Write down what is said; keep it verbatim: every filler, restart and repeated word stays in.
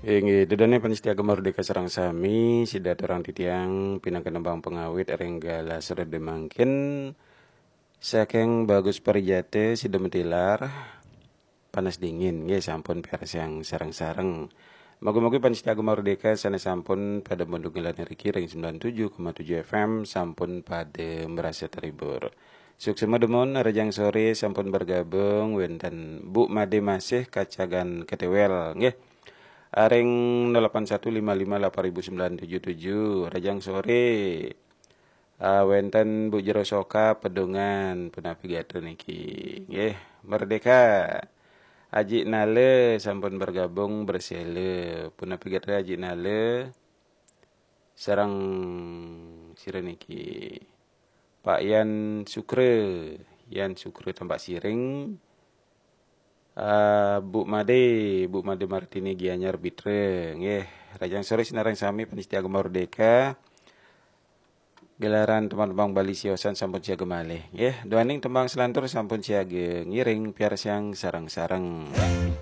Inggih, ida dané pamiarsa Gema Merdeka sareng sami, sida aturang titiang pinaka nembang pangawit ring galah sore mangkin saking Bagus Parijate sida matilar Panas Dingin, nggih sampun piarsang sareng-sareng. Mugi-mugi pamiarsa Gema Merdeka sané sampun pada mundung ngilangi riki ring sembilan tujuh koma tujuh F M sampun pada merasa terhibur. Suksma dumun, rahajeng sore sampun bergabung wénten Bu Made Masih Kacagan Ketewel, nggih. Aring nol delapan satu lima lima delapan ribu sembilan tujuh tujuh, rahajeng sore. Ah, wénten Bu Jero Soka Pedungan, punapi gatra niki. Nggih, Merdeka. Aji Nale sampun bergabung, bersele. Punapi gatra Aji Nale. Sareng sira niki. Pak Yan Sukre, Yan Sukre Tambak Siring. Ah, Bu Made, Bu Made Martini Gianyar Bitra. Nggih, rahajeng sore sinareng sami pamiarsa Gema Merdeka. Gelaran tembang-tembang Bali siosan sampun siaga malih. Nggih, duaning tembang selantur sampun siaga, ngiring piarsang sareng-sareng.